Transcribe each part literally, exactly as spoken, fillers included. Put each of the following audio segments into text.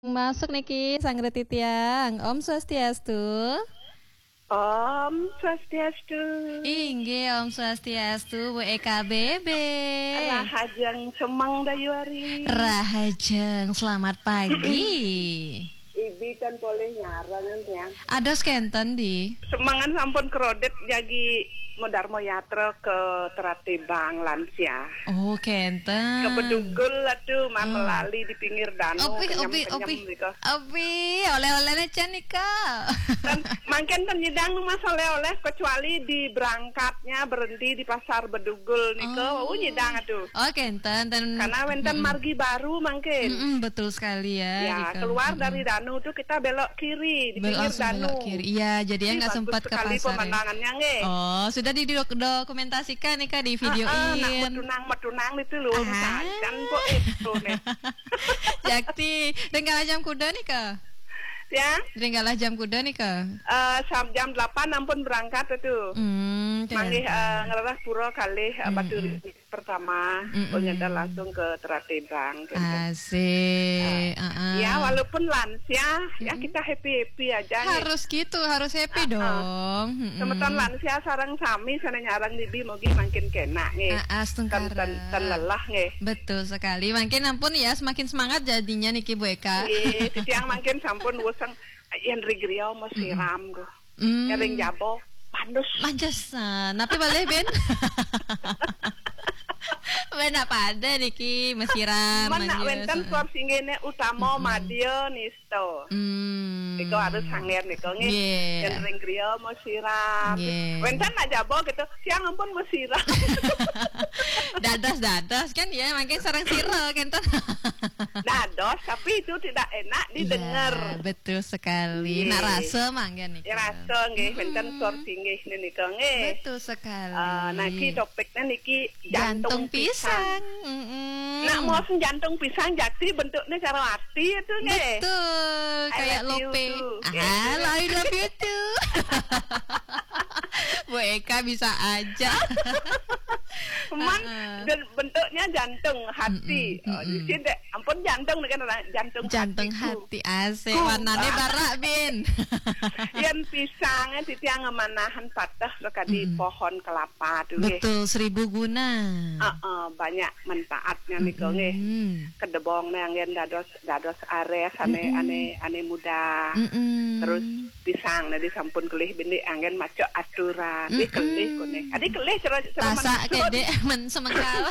Masuk niki, Sang Reti Tiang. Om Swastiastu. Om Swastiastu. Inggih, Om Swastiastu, Bu Eka Bebe. Rahajeng semeng dayuari. Rahajeng, selamat pagi. Ibi tan polih nyarang, Tiang. Ados kenten, di. Semengan sampun kredit jagi Modarmo Yatra ke Teratibang lansia. Oh, kenten. Ke Bedugul atuh, mah, hmm, melali di pinggir danu, opi, opi, kenyem-kenyem opi. Nika. Opi, oleh-olehnya can nika. Dan mangkin ten nyidang nu mas oleh-oleh, kecuali di berangkatnya berhenti di Pasar Bedugul nika, oh, nyidang atuh. Oh, kenten, ten. Karena wenten, mm-mm, margi baru mangkin. Mm-mm, betul sekali ya, ya, nika. Keluar, mm-mm, dari danu tuh kita belok kiri di, belok, pinggir langsung danu. Belok kiri. Iya, jadi ya nggak sempat ke pasar ya. Bagus sekali pemandangannya, nggih. Oh, sudah didokumentasikan nih, Kak, di videoin. Heeh, nak metunang-metunang itu loh, ah, sancan kok itu nih. Jakti, ring galah jam kuda nih, Kak? Ya? Ring galah jam kuda nih, Kak? Eh, sam-, jam delapan ampun berangkat itu. Hmm, manggih, keren, eh, ngerereh pura kalih, eh, mm-mm, Batu Ringgit pertama, mm-mm, ternyata langsung ke Teratibang, gitu. Asik, ah, heeh. Ya, walaupun lansia, ya, mm-mm, kita happy-happy aja, nggih. Harus gitu, harus happy, heeh, dong. Mm-mm. Semeton lansia sareng sami sané nyareng nibi mugi mangkin kénak, nggih. Ah, ah, astungkara. Ten, ten, ten lelah, nggih. Betul sekali. Mangkin ampun ya, semakin semangat jadinya niki, Bu Eka. Nggih, titiang mangkin sampun wuseng, yén ring griya mesiram, mm-mm, tuh. Hmm. Ring jaba, manus. Manus, ah, napi malih, Bin? Bin, apa ada niki, mesiram, men nak manus, wénten, ah, sor singgihné utama, mm-mm, madya nista. Hmm. Nika harus sanggén nika, nggih. Nggih. Yén ring griya mesiram. Nggih. Wénten nak jaba gitu, tiang ampun mesiram. Dados-dados kan ya, mangkin sareng sira kénten. Dados, tapi itu tidak enak didengar. Iya, betul sekali. Nggih. Nak rasa mangga nika. Ya, rasa nggih, wénten, mm-mm, sor singgih nika nggih. Betul sekali. Eh, niki topiknya niki jantung, jantung pisang. Pisang. Mm-mm. Nak mau jantung pisang, jadi bentuknya cara hati itu nggih. Betul, I kayak love you lope too. Ah, gitu. I love you too. Bu Eka bisa aja. Cuman, heeh, dan bentuknya jantung, hati. Mm-mm, oh, mm-mm. Di sini, ampun, jantung dengan orang, jantung, jantung hatiku. Hati, asik. Ku. Warnanya barak, Bin. Yén pisangnya titiang ngemanahan pateh sakadi, mm-mm, pohon kelapa tuh, nggih. Betul, seribu guna. Heeh, banyak manfaatnya nika, nggih. Mm-mm. Kedebong nih anggén dados, dados arés ané, mm-mm, ané, ané muda. Mm-mm. Terus pisang nih disampun kelih bintik anggén maca aturan. Ih, mm-mm, kelih koné. Adi kelih cara, cara rasa manusa kédé men semengkal.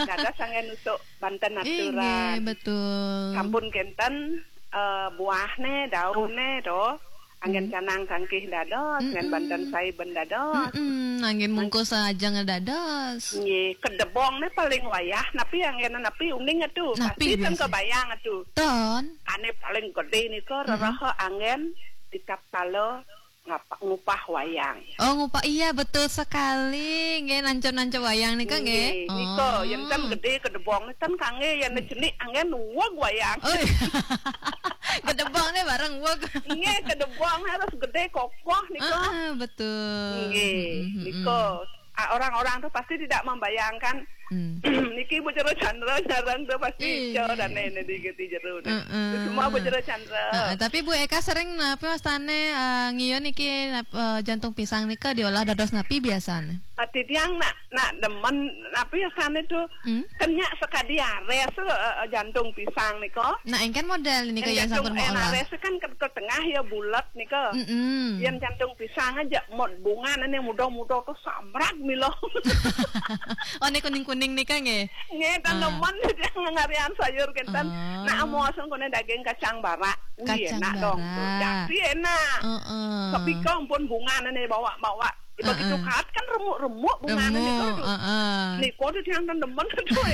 Dados anggén nusuk banten aturan. Inggih, betul. Sampun kénten, eh, buahné, dauné to. Anggén, hmm, canang kangkih dados, anggén, mm-mm, banten saiben dados. Mm-mm, anggén mungkus ajeng dados. Nggih, kedebong né paling wayah, napi anggén napi uning atuh. Napi pasti ten biasa kebayang atuh. Ton. Ané paling gedé nika, mm-mm, reraha anggén di tatkala ngapa-, ngupah wayang. Oh, ngupah, iya, betul sekali. Nggih, nancep-nancep wayang nika, nggih. Nggih, nika, oh, yén ten gedé kedebong, ten kanggé, yén, hmm, jenik anggén uweg wayang. Oh, iya. Kedebong né bareng uweg. Nggih, kedebong harus gedé kokoh nika. Ah, ah, betul. Nggih, mm-mm, nika. Ah, orang-orang tuh pasti tidak membayangkan, hmm, niki Bu Jero Chandra jarang tuh pasti, iya, ijo dan ini di, di jero nih. Heeh. Semua Bu Jero Chandra. Heeh, tapi Bu Eka sering napi wastané, eh, ngiyo niki nap-, eh, jantung pisang nika diolah dados napi biasané? Ati tiang nak, nak demen napi wastané tuh, hmm, kenyak sekadi arés, eh, eh, jantung pisang nika. Nah, engkén model nika yang sampun, eh, olah. Arés kan ke, ke tengah ya bulat nika. Mm-mm. Yang jantung pisang aja mod bunga nih muda-muda tuh samrak milo. Oh, nih kuning-kuning nika nggih. Nggih, taneman, ah, dia ngarian sayur kénten. Ah. Nah, mau asal kena daging kacang barak. Wih, kacang enak dong tuh. Barak. Jadi enak. Heeh. Tapi kau pun bunga nih bawa-bawa. Ya, begitu, heeh, kaat kan remuk-remuk bunga nih. Remuk, tuh. Heeh. Nih, kau tuh yang taneman tuh.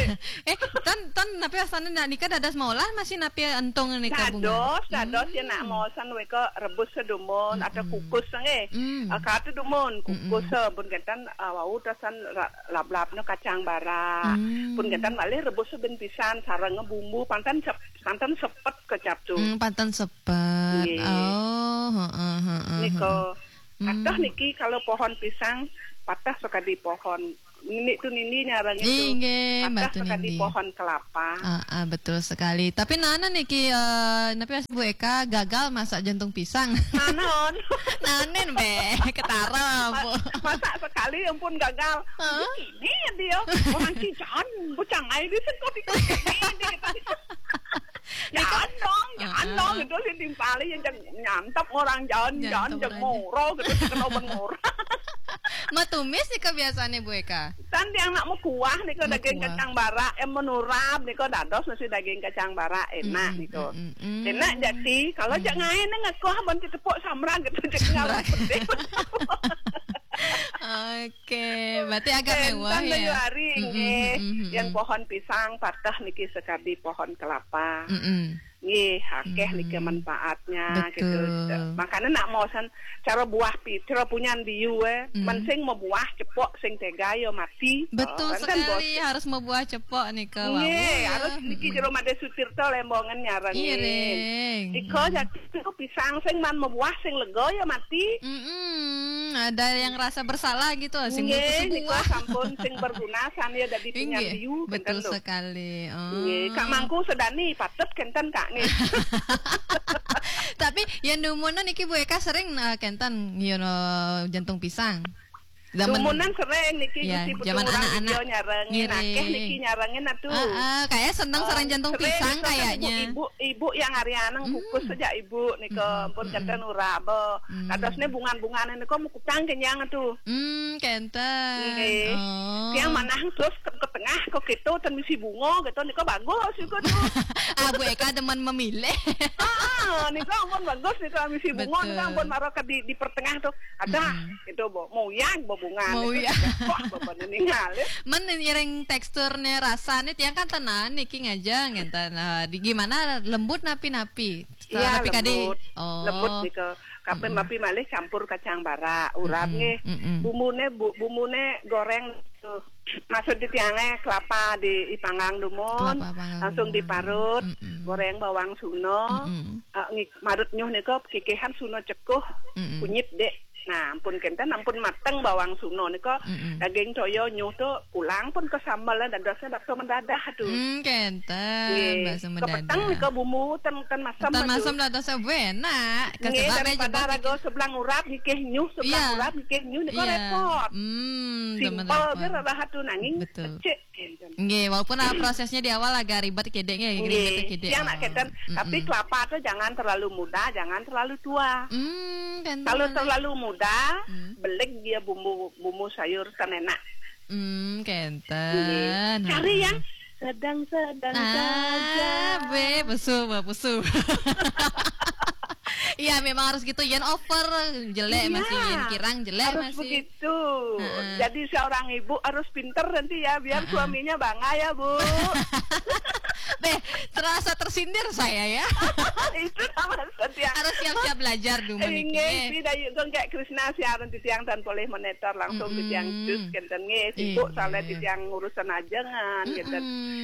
Eh, tan, tan, napi wastané nak nika dados maolah masih napi entung nika bunga? Dados, dados ya nak, hmm, maosan wéka rebus sedumun atau, mm-mm, kukus nggih. Mm. Ah, kaat dumun, kukus, mm-mm, eh, pun kénten, eh, wau tasan ra-, lap-lapnya kacang barak. Mm. Pun kénten malih rebus saben pisan sareng bumbu panten sep-, panten sepet kecap tuh. Mm, panten sepet. Nggih. Oh, heeh, heeh, nika, heeh. Kathah, mm, niki kalau pohon pisang patah sakadi pohon Nini tu nini nyarang itu. Inggih, Mbak Tun Nini. Pohon kelapa. Ah, ah, betul sekali. Tapi nana niki, eh, napi Bu Eka gagal masak jantung pisang. Nanon. Nanen be, ketara, Bu. Masak sekali ampun gagal. Hah? Ini dia, orang Cijan, bucang ai di sekot itu. Ini dia. Jangan dong, jangan dong. Itu si timpali yang nyantap orang jangan, jangan jeng moro gitu, kena orang moro. Matumis nika biasane Bu Eka. Tan tiang nak mekuah nika daging kacang bara, em menurap nika dados nasi daging kacang bara enak nika. Enak jati, kalau jak ngain ngakuah ban tepuk samrang gitu, jak ngalah pedih. Oke, berarti agak mewah ya. Hari nggih, yang pohon pisang patah niki sekadi pohon kelapa. Nggih, akeh niki manfaatnya gitu. Makanya nak mau san cara buah pi, cara punyan biu eh, men sing mabuah cepok sing tega ya mati. Betul sekali, harus mabuah cepok nika. Nggih, harus niki jero Made Sutirta Lembongan nyarang. Iko jati pisang sing man mabuah sing lega ya mati. Mm-mm, ada yang rasa bersalah gitu, sing nggih, butuh sebuah. Sampun sing berguna san ya dadi penyambiu. Betul sekali. Oh. Nggih, Kak Mangku sedani patut kenten Kak nggih. Tapi yang dumunan niki Bu Eka sering, eh, kenten ngiono jantung pisang. Zaman dumunan sering niki ya, Gusti zaman anak-anak nyarengin, akeh niki nyarengin atuh. Heeh, kayak seneng sareng jantung pisang kayaknya. Ibu, ibu yang hari aneng kukus saja ibu nika pun kenten uraba. Kadosne bungan-bungane nika mukutang kenyang atuh. Hmm, kenten. Nggih. Oh. Yang manah terus ke, ke tengah kok gitu ten misi bunga gitu nika bagus juga tuh. Ah, Bu Eka demen memilih. Ah, nika ampun bagus nika misi bunga nika ampun maro ke di, di pertengah tuh. Ada gitu, Bu. Mau yang bebungan. Mau yang. Wah, bebenin ningali. Men ngiring teksturnya rasanya tiang kan tenan niki ngajeng ngenten. Nah, di gimana lembut napi-napi. Iya, lembut. Oh. Lembut nika. Kape mapi malih campur kacang bara, urap nggih. Bumbune bu, bumbune goreng tuh. Maksud di tiange kelapa di ipanggang dumun, langsung diparut, goreng bawang suno, eh, ngi-, marut nyuh nika kikihan suno cekuh, kunyit dek. Nah, ampun kenten, ampun mateng bawang suno nika, daging toyo nyuh tuh pulang pun ke sambal dan dadosnya bakso mendadah tuh. Hmm, kenten, bakso mendadah. Kepeteng nika bumbu ten, ten masam. Ten masam dadosnya enak. Nggih, daripada raga sebelah urap ngikih nyuh, sebelah urap ngikih nyuh nika repot. Hmm, simpel ge rahat tuh nanging becik. Nggih, walaupun, ah, prosesnya di awal agak ribet kede nggih, ribet kede. Yang nak keten, tapi kelapa tuh jangan terlalu muda, jangan terlalu tua. Hmm, kalau terlalu muda, belik dia bumbu, bumbu sayur kan enak. Hmm, kenten. Cari yang sedang-sedang saja. Be, besul, be, besul. Iya, memang harus gitu. Yen over jelek masih, yen kirang jelek masih. Harus begitu. Jadi seorang ibu harus pinter nanti ya, biar suaminya bangga ya, Bu. Be, terasa tersindir saya ya. Itu namanya setiap. Harus siap-siap belajar dulu. Inggih, si Dayu Gong kayak Krisna siaran di siang dan boleh monitor langsung di siang jus kenten nggih, sibuk soalnya di siang urusan ajengan kenten.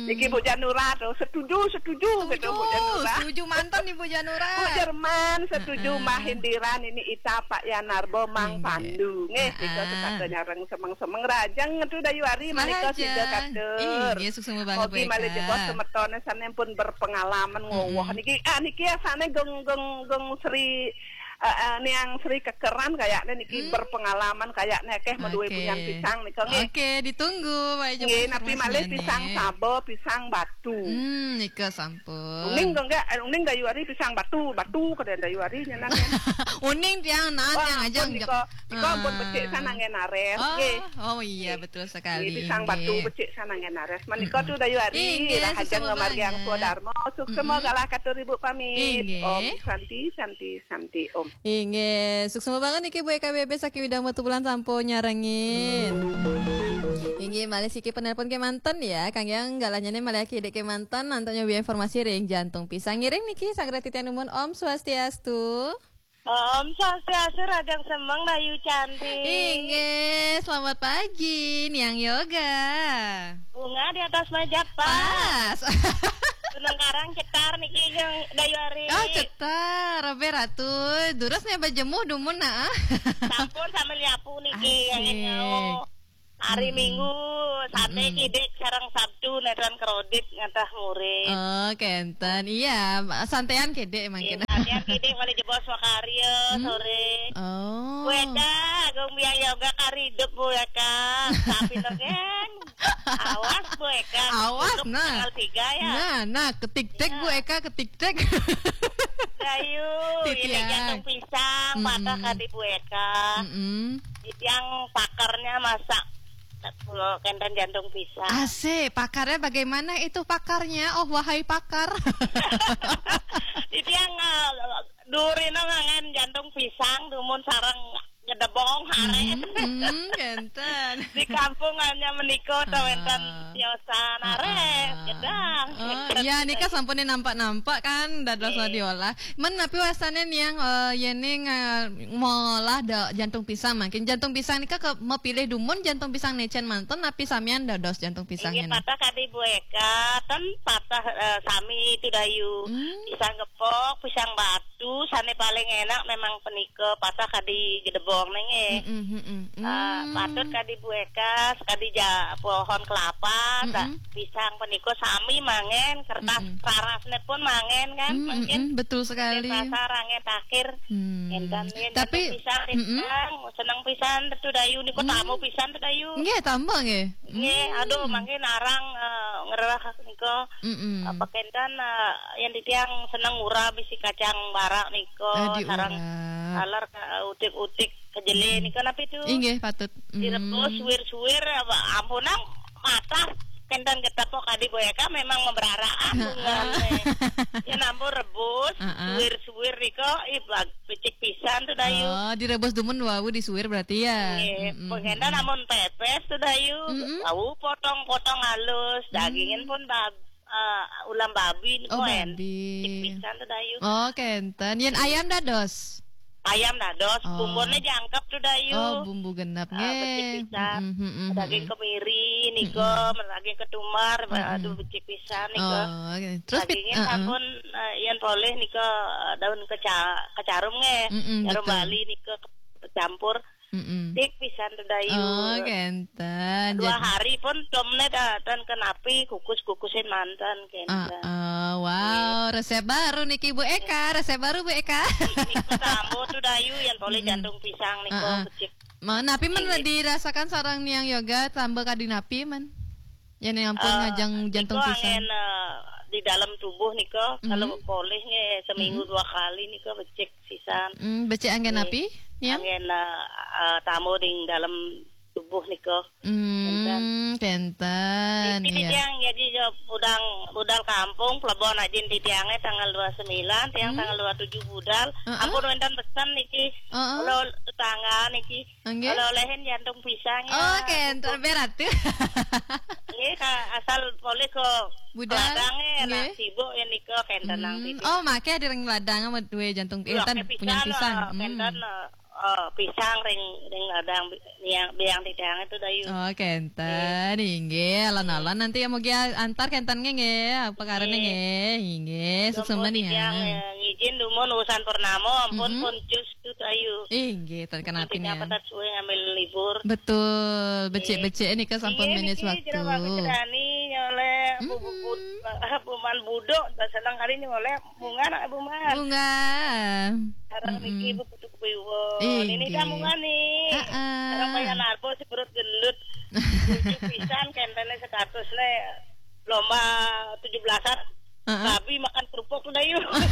Niki Bu Janura tuh setuju, setuju gitu Bu Janura. Setuju mantan nih Bu Janura. Bu Jerman setuju mah Hindiran ini Ita Pak Yanarbo Mang Pandu. Nggih, kita sekata nyareng semeng-semeng rajang tuh Dayu Ari menika sida katur. Inggih, sukses banget Bu Eka. Mogi malih jebos semetone sampun berpengalaman ngowoh niki. Ah, niki asane geng, geng, geng Sri, eh, eh, niang Sri kekeran kayaknya niki berpengalaman kayaknya akeh meduwe punyan pisang nika nggih. Oke, ditunggu Pak Joko. Nggih, napi malih pisang sabo, pisang batu. Hmm, nika sampun. Uning kok enggak, eh, uning Dayu Ari pisang batu, batu kada Dayu Ari nyenang ya. Uning tiang naon tiang aja. Nika, nika ampun becik san anggen ares nggih. Oh iya, betul sekali. Nggih, pisang batu becik san anggen ares. Menika tuh Dayu Ari, inggih, rahajeng ngamargiang swadharma, suksma galah katur Ibu pamit. Inggih. Om Santi, Santi, Santi, Om. Inggih, suksma banget niki Bu Eka B B saking Widang Batubulan sampun nyarengin. Inggih, malih siki penelpon kemanten ya, kangge galahnyane malih kede kemanten, antuk nyobi informasi ring jantung pisang ngiring niki, saged titiang nuwun Om Swastiastu. Om Swastiastu, rahajeng semeng Dayu cantik. Inggih, selamat pagi, Niang Yoga. Bunga di atas meja pas. Pas. Gunung Karang cetar niki yang Dayu Ari. Oh, cetar, Ratu. Durus nih bajemuh dumun nah. Sampun sambil nyapu niki yang nyau. Hari Minggu, sate kidik sareng Sabtu, nétran kredit ngentah murid. Oh, kenten. Iya, santean kidik mangkin. Iya, santean kidik, malih jebos makarya sore. Oh. Bu Eka, Agung Biang Yoga kari hidup, Bu Eka. Tapi dongeng. Awas, Bu Eka. Awas, nah. Tanggal tiga ya. Nah, nah, ketik-tik, Bu Eka, ketik-tik. Dayu, ini jantung pisang, patah kadi Bu Eka. Yang pakarnya masak. Kenten jantung pisang. Asik, pakarnya bagaimana itu pakarnya? Oh, wahai pakar. Itu yang, eh, durina ngangen jantung pisang, dumun sareng gedebong, arep. Hmm, hmm, kenten. Di kampung hanya menika, tawenten tiosan, arep, gedang. Oh, iya, nika sampun nampak-nampak kan, dados diolah. Men napi wasane niang, eh, yene nga-, ngolah da-, jantung pisang mangkin. Jantung pisang nika ke mapilih dumun jantung pisang necen manten napi samian dados jantung pisang. Inggih, patah kadi Bu Eka, ten patah, eh, sami itu Dayu. Hmm. Pisang gepok, pisang batu, sane paling enak memang penika patah kadi gedebong nenge. Mm-mm, mm-mm. Eh, patut kadi Bu Eka, sekadi ja-, pohon kelapa, sa-, pisang penika sami mangen, kertas rarasne pun mangen kan, mungkin. Mm-mm, betul sekali. Pasar angen takhir. Hmm. Enten yen tapi, jantung pisang, seneng pisan tu Dayu niku, tamu pisan tu Dayu. Nggih, tamu nggih. Nggih, aduh, mangkin arang, eh, ngerah nika. Mm-mm. Apa kenten, eh, yen titiang seneng ngurah bisi kacang barak nika, sareng taler, eh, utik-utik kejele nika napi tu? Inggih, patut. Direbus suwir-suwir, apa, ampunang matah kenten getepok kadi Bu Eka memang mabraraan bungan. Yen ampun rebus, suwir-suwir nika, ih, bag-, becik pisan tu Dayu. Oh, direbus dumun wau disuwir berarti ya? Nggih, pengendan amun pepes tu Dayu, wau potong-potong halus, dagingin pun bab-, eh, ulam babi niku. Oh, babi. Becik pisan tu Dayu. Oh, kenten. Yen ayam dados? Ayam dados, bumbune jangkep tu Dayu. Oh, bumbu genep nggih. Becik pisan. Daging kemiri nika, daging ketumbar, aduh, becik pisan nika. Oh, oke. Terus pit-, dagingnya sampun, eh, yen polih nika, eh, daun keca-, kecarum nggih. Jarum Bali nika ke-, campur. Becik pisan tu Dayu. Oh, kenten. Dua hari pun tomne da-, ten kenapi kukus-kukusin manten kenten. Wow, resep baru niki Bu Eka, resep baru Bu Eka. Niki tamu tu Dayu yang polih jantung pisang nika becik. Napi men dirasakan sareng niang yoga tambah kadi napi men? Yen ampun ngajeng jantung pisang. Angen, eh, di dalam tubuh nika, kalau polih nggih seminggu dua kali nika becik sisan. Hmm, becik angen napi, niang? Angen, eh, eh, tamu di dalam tubuh nika. Hmm, kenten, iya. Tiang jadi budal, budal kampung, Plebon ajin titiange tanggal dua sembilan, tiang tanggal dua tujuh budal. Ampun wenten pesen niki. Kalau tetangga niki. Nggih. Oleh-olehin jantung pisang ya. Oh, kenten berat tu. Nggih, asal polih ke budal, ladange, lah sibuk ya nika kenten nang titik. Oh, make di ring ladang sama duwe jantung, eh, ten punya pisang. Kenten, eh, pisang ring, ring ladang bi-, yang, biang titiang itu Dayu. Oh, kenten, inggih, alon-alon nanti ya mugi antar kenten nggih, apa karena nggih, inggih, sukses ya. Ngijin dumun urusan purnama, ampun pun cus tu Dayu. Inggih, ten kenapi ya. Dapat suwe ngambil libur. Betul, becik-becik nika sampun manage waktu. Jero bagus cerani nyoleh bu, bu, bu, buman budok, tak seneng kali nyoleh bunga nak bunga. Bunga. Sekarang niki bu putu kuiwo. Ini dah bunga nih. Sekarang kaya narbo si perut gendut. Lucu pisan kentene sekatus le lomba tujuh belasan. Babi makan kerupuk tu Dayu. Aduh.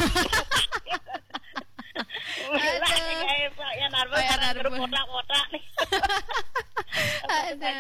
Pak Yan Arbo, Pak Yan Arbo. Kotak-kotak nih. Aduh,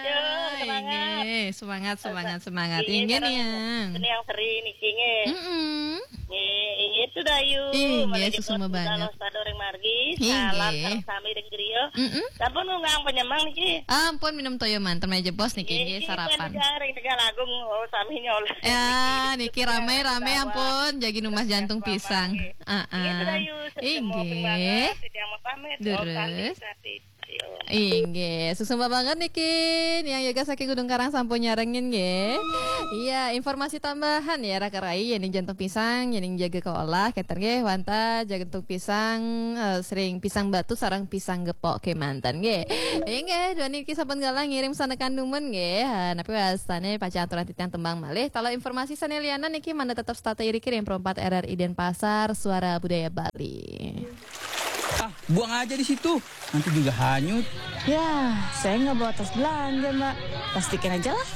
semangat. Inggih, semangat, semangat, semangat. Inggih, inggih, sareng niang. Niang Sri niki nggih. Mm-mm. Nggih, inggih tu Dayu. Inggih, malih suksma banget. Sampun ring margi. Inggih. Salam sareng sami ring griya. Mm-mm. Sampun ngundang penyemang niki. Ampun minum toyo manten meja bos niki, inggih, sarapan. Ring Tegal Agung, oh, sami nyoleh. Ya, niki ramai-ramai ampun, jagi numbas jantung pisang. Heeh. Inggih, Dayu, inggih. Titiang pamit. Leres. Om Santi, Santi. Inggih, suksma banget niki, Niang Yoga saking Gunung Karang sampun nyarengin nggih. Iya, informasi tambahan ya, Raka Rai, yéning jantung pisang, yéning jaga kaolah, kénten nggih, wantah jantung pisang, eh, sering pisang batu sareng pisang gepok kémanten nggih. Inggih, duaning niki sampun galah ngirim sanekan dumun nggih. Ha, napi wastané pacang aturan titiang tembang malih. Kalau informasi sané lianan niki mangda tetep setata iriki ring Pro empat R R I Denpasar, Suara Budaya Bali. Ah, buang aja di situ. Nanti juga hanyut. Ya, saya nggak bawa tas belanja, Mbak. Plastikin aja lah.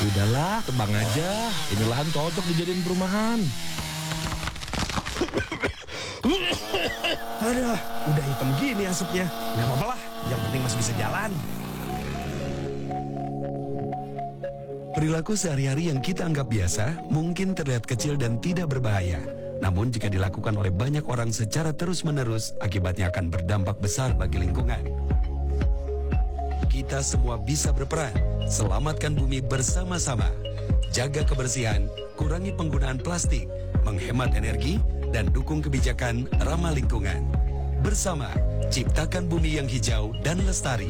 Udahlah, tebang aja. Ini lahan cocok dijadiin perumahan. Aduh, udah hitam gini asapnya. Nggak apa-apa lah, yang penting masih bisa jalan. Perilaku sehari-hari yang kita anggap biasa mungkin terlihat kecil dan tidak berbahaya. Namun jika dilakukan oleh banyak orang secara terus-menerus, akibatnya akan berdampak besar bagi lingkungan. Kita semua bisa berperan. Selamatkan bumi bersama-sama. Jaga kebersihan, kurangi penggunaan plastik, menghemat energi, dan dukung kebijakan ramah lingkungan. Bersama, ciptakan bumi yang hijau dan lestari.